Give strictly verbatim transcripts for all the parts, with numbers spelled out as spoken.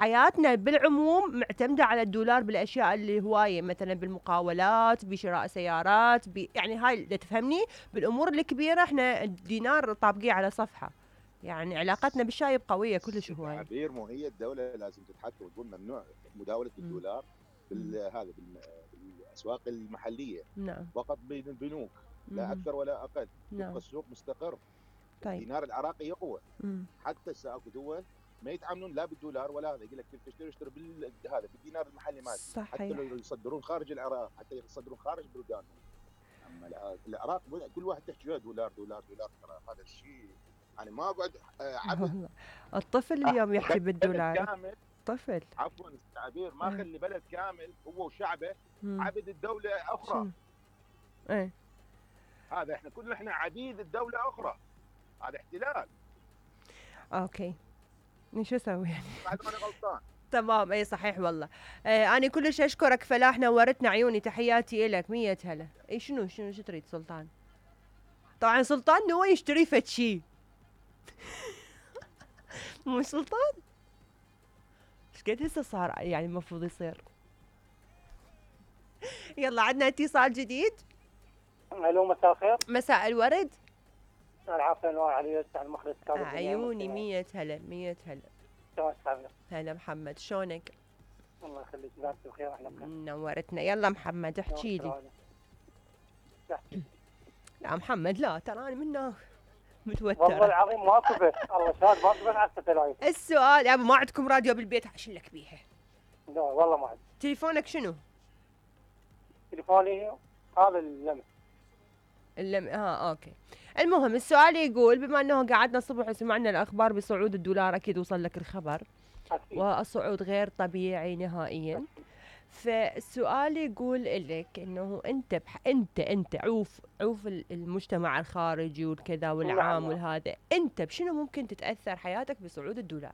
حياتنا بالعموم معتمدة على الدولار بالأشياء اللي هواية، مثلا بالمقاولات، بشراء سيارات، ب... يعني هاي إذا تفهمني. بالأمور الكبيرة احنا الدينار طابقيه على صفحة، يعني علاقتنا بالشايب قوية كلش ست هواية. عبير، مو هي الدوله لازم تتحكم وتقول ممنوع مداوله مم. الدولار مم. بالهذا بالاسواق المحليه، نعم. فقط بين البنوك، لا مم. اكثر ولا اقل. تبقى نعم. السوق مستقر، طيب. الدينار العراقي يقوى. مم. حتى هسه اكو دول ما يتعاملون لا بالدولار ولا هذا، يقول لك تشتري اشتري بال هذا بالدينار المحلي مالتي، حتى لو صحيح. يصدرون خارج العراق، حتى يصدرون خارج بلدانهم. اما العراق كل واحد تحكي دولار دولار دولار، ترى هذا الشيء يعني ما اقعد عبد والله الطفل اليوم يحكي بلد بالدولار. كامل. طفل. عفوا التعبير، ما ايه. خلي بلد كامل هو وشعبه مم. عبد الدوله اخرى. شنو؟ ايه. هذا احنا كلنا احنا عبيد الدوله اخرى، هذا احتلال. اوكي، شو اسوي يعني؟ بعد ما انا غلطان. تمام، اي صحيح والله. آه انا كلش اشكرك فلاح، نورتنا عيوني، تحياتي الك مية هلا. اي شنو شنو شو تريد سلطان؟ طبعا سلطان نوى يشتري فد شي. مو سلطان؟ ايش قد هسه صار يعني المفروض يصير؟ يلا عندنا اتصال جديد. الو، مساء الخير. مساء الورد. العافيه، انواع علي على المخرج كاظم عيوني مية هلا مية هلا. شلونك؟ هلا محمد، شلونك؟ الله يخليك، انت بخير احنا بخير. نورتنا. يلا محمد احكي لي. لا محمد لا، ترى انا من متوترة والله العظيم ما كبت، الله شاهد ما كبت على الستلايف. السؤال يا ما عندكم راديو بالبيت عشان لك بيها؟ لا والله ما عندي. تليفونك شنو؟ تليفوني هذا اللمس. اللم اه اوكي. المهم السؤال يقول، بما انه قعدنا الصبح وسمعنا الاخبار بصعود الدولار، اكيد وصل لك الخبر، أكيد. والصعود غير طبيعي نهائيا. فالسؤال يقول لك انه انت بح... انت انت عوف عوف المجتمع الخارجي والكذا والعام نعم. والهذا، انت بشنو ممكن تتاثر حياتك بصعود الدولار؟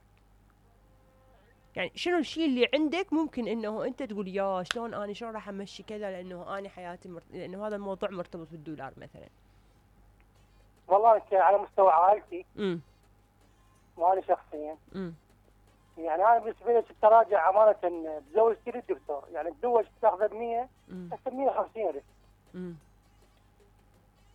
يعني شنو الشيء اللي عندك ممكن انه انت تقول يا شلون انا شلون راح امشي كذا، لانه انا حياتي مرت... لانه هذا الموضوع مرتبط بالدولار مثلا. والله انت على مستوى عائلتي. امم. وانا شخصيا. امم. يعني انا بالنسبه لي التراجع امانه بزوجتي للدكتور، يعني تزوج تاخذ ب مية هسه ب مية وخمسين الف. امم.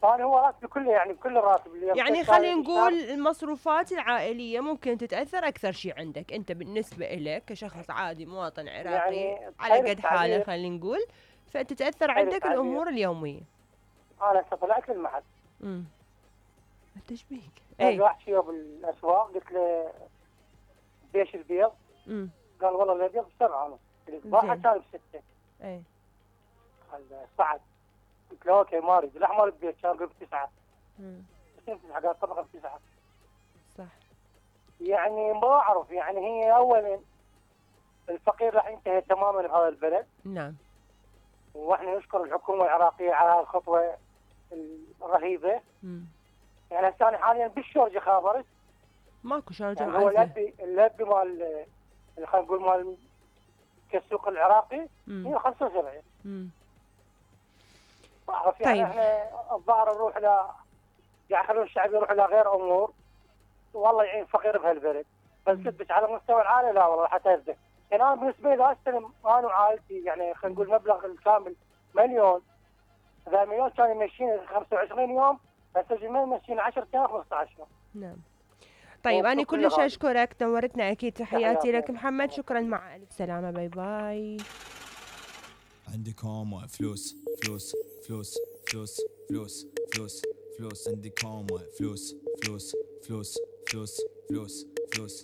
فانا هو راتبي كله، يعني كل الراتب اللي يعني خلينا نقول المصروفات العائليه ممكن تتاثر اكثر شيء عندك انت بالنسبه لك كشخص عادي مواطن عراقي يعني على قد حاله، خلينا نقول، فتتاثر عندك الامور اليوميه. انا هسه طلعت للمحل. امم. انت ايش بيك؟ اي واحد شيء بالاسواق، قلت له بيش البيض؟ امم. قال والله الابيض بسبعه ونص، الصباحه كان بسته. اي. قال صعد. قلت له اوكي ما اريد الاحمر البيت، كان قلت بتسعه. امم. تسعه، قال طبقه بتسعه. صح. يعني ما اعرف، يعني هي اولا الفقير راح ينتهي تماما بهذا البلد. نعم. واحنا نشكر الحكومه العراقيه على الخطوه الرهيبه. امم. يعني هسه انا حاليا بالشورجه خابرت. ماكو شارجه. يعني هو اللبي اللبي مال خلينا نقول مال كالسوق العراقي مية وخمسة وسبعين. امم. بعرف يعني. طيب. احنا الظاهر نروح ل يعني خلون الشعب يروح الى غير امور، والله يعين فقير بهالبلد. بس بس على مستوى العائله لا والله حتى يزدك. يعني انا بالنسبه لي استلم انا وعائلتي، يعني خلينا نقول مبلغ الكامل مليون. اذا مليون كان يمشيني خمسة وعشرين يوم، هسه جميل يمشيني عشرة ايام خمسة عشر يوم. نعم. طيب أنا كلش أشكرك، نورتنا أكيد، تحياتي لك محمد، شكرا، مع ألف سلامة، باي باي. عندي كوم فلوس فلوس فلوس فلوس فلوس فلوس فلوس عندي كوم فلوس فلوس فلوس فلوس فلوس فلوس